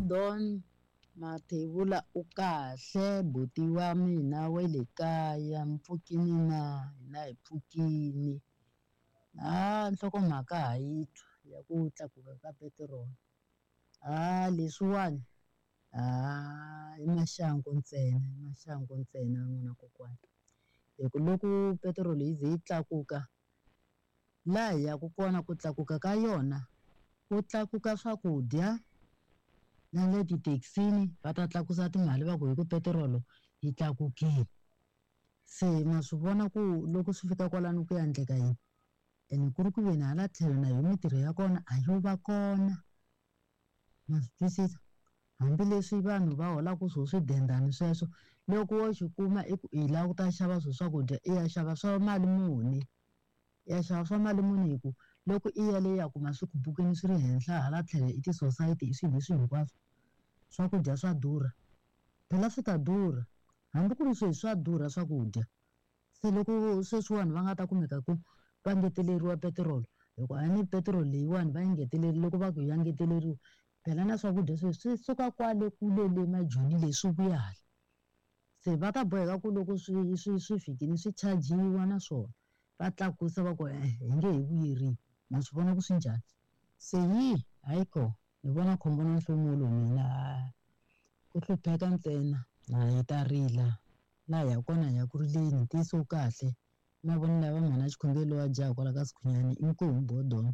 Bodon Mathebula u kahle buti wa mina wa le kaya mpfukini na hina hi pfukini ha nhlokomhaka ha yi twa ya ku tlakuka ka petiroli ha leswiwani ha i maxangu ntsena i maxangu ntsena n'wana kokwana hi ku loko petiroli yi ze yi tlakuka laha hi yaka kona ku tlakuka ka yona ku tlakuka swakudya na le tithekisini va ta tlakusa timali va ku hi ku petirolo yi tlakukile se ma swi vona ku loko swi fika kwalano ku ya endleka yini ene ku ri ku veni hala tlhelo na yo mintirho ya kona a yo va kona ma swi twisisa hambileswi vanhu va holaka swo swidendani sweswo loko wo xi kuma i ku i lava ku ta xava swo swakudya i ya xava swa mali muni i ya xava swa mali muni hi ku loko i ya le ya kuma swi khupukile swi ri henhla hala tlhelo i ti-society i swilo leswi hinkwaswo swakudya swa durha phela swi ta durha hambi ku ri sweswi swa durha swakudya se loko sweswiwani va nga ta kumeka ku va ngeteleriwa petiroli hikuva a ni petiroli leyiwani va yi ngeteleri loko va ku ya ngeteleriwa phela na swakudya sweswi swi suka kwale kule le majoni le swi vuya hala se va ta boheka ku loko swi swi swi fikile swi chajiwa na swona va tlakusa va ku e hi nge he vuyeriwi ma swi vona ku swi njhani se yi hayi ko ni vona khombo na nhlomulo mina ku hlupheka ntsena na hi ta rila laha hi ya kona hi ya ku rileni ntiyiso wu kahle mavonelo ya va mhana xikhongelo wa jaha kwala ka Sikhunyani inkomu Bodon.